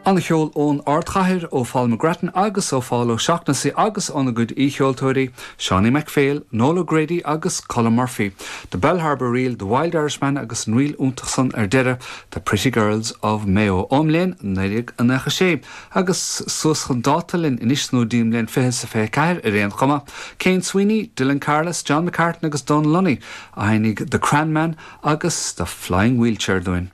An-cheol ón ardchathair, ó Phól McGrattan agus ó Phól O'Shaughnessy agus óna gcuid aoicheoltóirí, Seánie McPhail, Noel O'Grady agus Colm Murphy, The Bellharbour Reel, The Wild Irishman agus an ríl iontach san ar deireadh, The Pretty Girls of Mayo, ón mbliain 1996 agus suas chun dáta linn anois nó dtí an mbliain 2024 ar aon chuma. Cian Sweeney, Dylan Carless, John McCartan agus Donal Lunny a sheinnfidh The Cranman agus The Flying Wheelchair dúinn.